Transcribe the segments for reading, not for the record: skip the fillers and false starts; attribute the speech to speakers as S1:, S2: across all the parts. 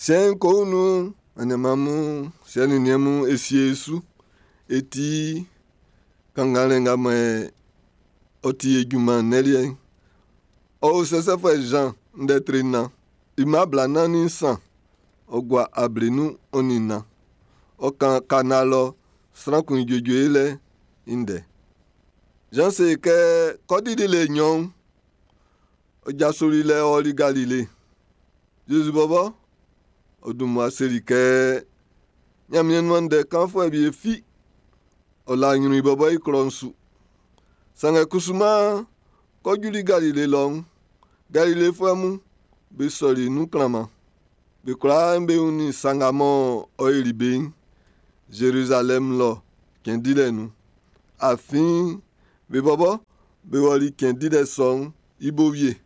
S1: Siɛn'n ko nun aniaan mun, siɛ nin niɛn mun, e sie e su e ti kannganlɛ nga mɔ ɔ ti e junman nnɛn liɛ'n. Ɔ o sɛsɛfuɛ Zan ndɛ tre 4, i mma 43, ɔ gua 24. Ɔ kan Kana lɔ sran kun i juejue yolɛ'n i ndɛ. Zan se kɛ k'ɔ dili le nɲɔn'n, ɔ jasoli lɛ ɔli Galile. Zezi bɔbɔ, ɔ dun mmua seli kɛ Ɲanmiɛn nuan ndɛ kanfuɛ wie fi, ɔ la ɲrun i bɔbɔ i klɔ'n su. Sanngɛ kusuman k'ɔ juli Galile lɔ'n, Galilefuɛ mun be sɔli nun klanman. Be kwlaa be wunnin sa nga mɔ ɔ yoli be'n Zerizalɛmu lɔ cɛn dilɛ nun. Afin be bɔbɔ be wɔli cɛn dilɛ sɔ'n i bo wie.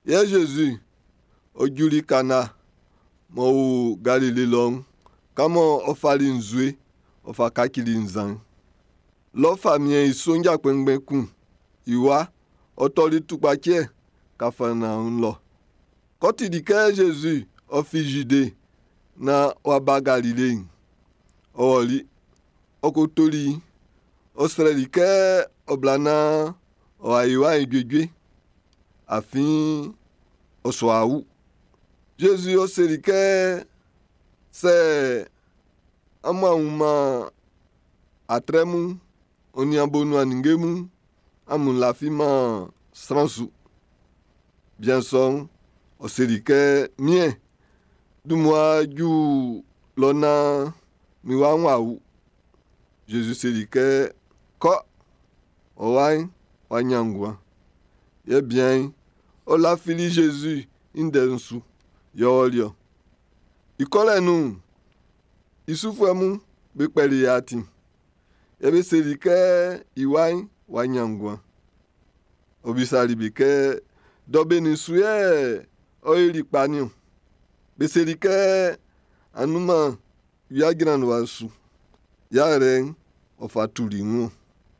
S1: Yɛ Zezi ɔ juli Kana m'ɔ o Galile lɔ'n, kan mɔ ɔ fali nzue ɔ fa kacili nzan'n. Lɔ famiɛn i sonja kpɛnngbɛn kun i wa ɔ tɔli tukpaciɛ Kafarnaɔm lɔ. K'ɔ tili kɛ Zezi ɔ fin Zide naan w'a ba Galile'n, ɔ wɔli, ɔ ko toli i. Ɔ srɛli kɛ ɔ bla naan ɔ wa yo i wa'n i juejue, afin ɔ su wa wu. Zezi ɔ seli kɛ sɛ amun a wunman atrɛ mun, ɔ nin abonuan ninnge mun, amun lafiman sran su. Bian sɔ'n, ɔ seli kɛ, Miɛn, dun mmua ju lɔ naan min wa'n w'a wu. Zezi seli kɛ, kɔ, ɔ wa'n w'a ɲan nguan. Yɛ bian'n, ɔ lafili Zezi i ndɛ'n su, yɛ ɔ ɔli-ɔ. I kɔlɛ nun'n, i sufuɛ mun be kpɛli i atin. Yɛ be seli kɛ i wa'n w'a ɲan nguan. Ɔ bisali be kɛ, dɔ benin su yɛ ɔ yoli kpa niɔn? Be seli kɛ, anunman wia jranwa su. Yɛ ɔ fa tuli wun.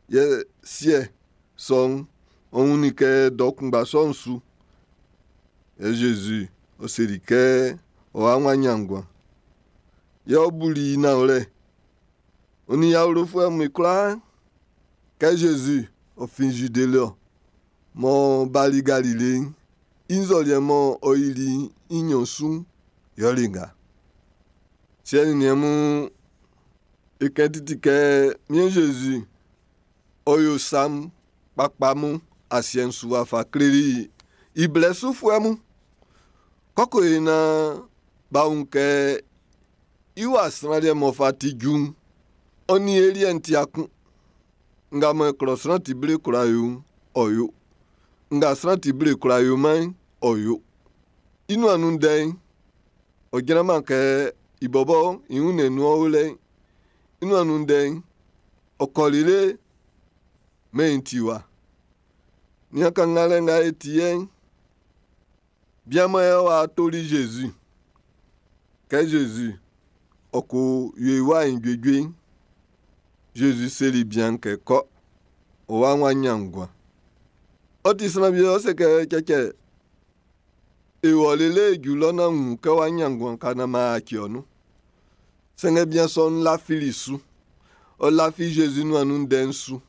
S1: Yɛ siɛ sɔ'n, ɔ wunnin kɛ dɔ kunngba sɔ'n su. Yɛ Zezi ɔ seli kɛ ɔ wa'n w'a ɲan nguan. Yɛ ɔ buli i nanwlɛ. Ɔ nin i awlofuɛ mun i kwlaa. Kɛ Zezi ɔ fin Zide lɔ m'ɔ bali Galile'n, i nzɔliɛ mɔ ɔ yili i nɲɔn su'n, yɛle nga. Siɛ nin niɛn mun, e kɛn titi kɛ Miɛn Zezi ɔ yo sa kpakpa mun asiɛ'n su wa fa kleli i blɛ sufuɛ mun. Kɔkɔ yi naan b'a wun kɛ i wa sran liɛ m'ɔ fa ti ju'n, ɔ nin e liɛ'n ti kun. Nga mɔ klɔ sran ti ble kwla yo'n, ɔ yo. Nga sran ti ble kwla yoman'n, ɔ yo. I nuan nun ndɛ'n, ɔ jranman kɛ i bɔbɔ i wunnɛn nun ɔ o lɛ'n. I nuan nun ndɛ'n, ɔ kɔ lele mɛn'n ti wa. Nian kannganlɛ nga e ti yɛ'n, bian mɔ yɛ w'a toli Zezi. Kɛ Zezi ɔ ko yo i wa'n i juejue'n, Zezi seli bian'n kɛ kɔ, ɔ wa'n w'a ɲan nguan. Ɔ ti sran wie ɔ se kɛ cɛcɛ, e wɔ lele e ju lɔ naan wun kɛ w'a ɲan nguan ka naan m'an yaci ɔ nun. Sanngɛ bian sɔ'n lafili su. Ɔ lafi Zezi nuan nun ndɛ'n su.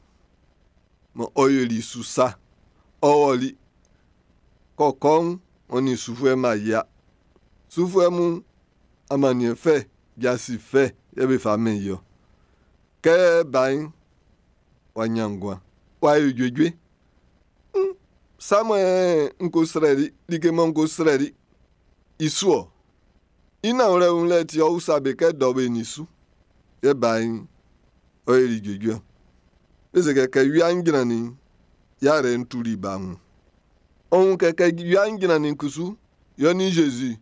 S1: Mɔ ɔ yoli su sa. Ɔ wɔli. Kɔkɔ'n, ɔ nin sufuɛ ma yia. Sufuɛ mun amanniɛn fɛ, jasin fɛ yɛ be fa mɛn i ɔ. Kɛ ba'n w'a ɲan nguan, w'a yo juejue. Sa mɔ n ko srɛli, like mɔ n ko srɛli i su ɔ. I nanwlɛ wunlɛ ti ɔ usa be kɛ dɔ be nin su. Yɛ ba'n ɔ yoli juejue. Be se kɛ kɛ wia'n jrannin'n, yarɛ'n tuli ba wun. Ɔ wun kɛ kɛ wia'n jrannin kusu, yɛ ɔ nin Zezi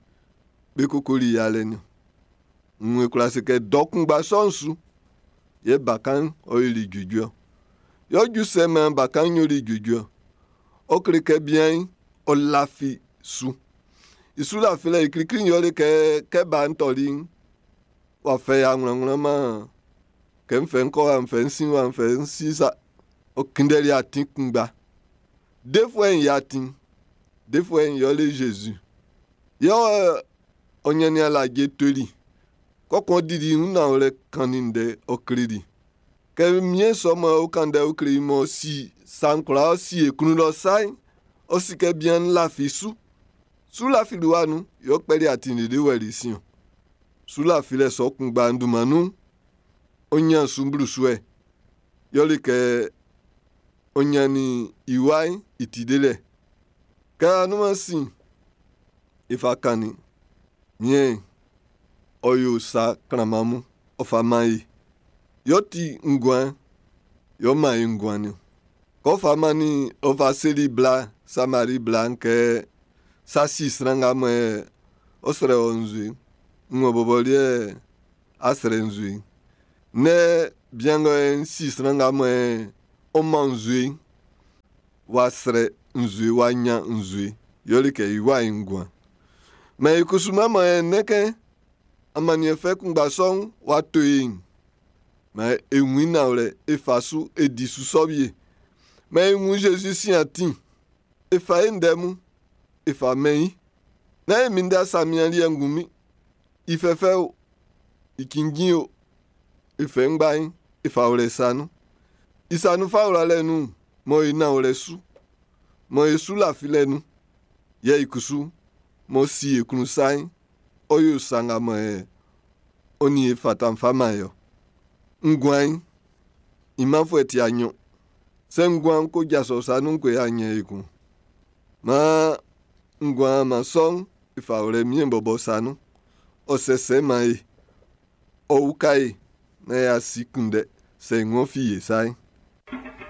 S1: be kokoli yalɛ niɔn. N e kwla se kɛ dɔ kunngba sɔ'n su, yɛ bakan'n ɔ yoli juejue ɔ. Yɛ ɔ ju sɛ maan bakan'n yoli juejue ɔ. Ɔ kle kɛ bian'n ɔ lafi su. I su lafilɛ i klikli'n yɛle kɛ kɛ ba'n tɔli'n, w'a fɛ i wlanwlanman kɛ n fɛ n kɔ wa n fɛ n sin wa n fɛ n si sa. Ɔ kunndɛli atin kunngba. Defuɛ'n i atin. Defuɛ'n yɛle Zezi. Yɛ ɔ Ɔ ɲannin alaje toli. Kɔkun ɔ dili i wun nanwlɛ kannin ndɛ ɔ kleli. Kɛ miɛn sɔ mɔ ɔ kan ndɛ ɔ kle i m'ɔ si sa'n kwlaa ɔ si e klun lɔ sa'n, ɔ si kɛ bian'n lafi su. Su lafili wa nun, yɛ ɔ kpɛli atin lele wɛli i sin. Su lafilɛ sɔ kunngba dunman nun'n, ɔ ɲan su mmlusuɛ. Yɛle kɛ ɔ ɲannin i wa'n i ti delɛ. Kɛ anunman sin e fa kannin, miɛn ɔ yo sa klanman mun, ɔ fa man e. Yɛ ɔ ti nguan, yɛ ɔ man e nguan niɔn. Kɛ ɔ fa mannin, ɔ fa seli bla, Samari bla'n kɛ sa si sran nga mɔ yɛ ɔ srɛ wɔ nzue'n, nn ɔ bɔbɔ liɛ a srɛ nzue'n. Nɛ bian nga yɛ si sran nga mɔ yɛ ɔ man nzue'n, w'a srɛ nzue w'a ɲan nzue. Yɛle kɛ i wa'n i nguan. Mɛ i kusu mɔ yɛ nnɛ kɛ amanniɛn fɛ kunngba sɔ'n w'a to e'n, mɛ e wun i nanwlɛ e fa su e di su sɔ wie. Mɛ e wun Zezi sin atin, e fa e ndɛ mun, e fa mɛn i. Nán e minndɛ asamian liɛ ngunmin. I fɛfɛ o, i cinnjin o, e fɛ ngba'n, e fa wlɛ sa nun. I sa nun fa wlalɛ nun, mɔ e nanwlɛ su, mɔ e su lafilɛ nun, yɛ i kusu m'ɔ si e klun sa'n, ɔ yo sa nga mɔ e ɔ nin e fata'n fa man e ɔ. Nguan'n, i manfuɛ ti anyɔn. Sɛ nguan'n ko jaso sa nun ko yɛ anyɛ ekun. Maan nguan man sɔ'n e fa wlɛ miɛn bɔbɔ sa nun. Ɔ sɛsɛ man e. Ɔ uka e na y'a si kunndɛ sɛ ng'ɔ fi e sa'n.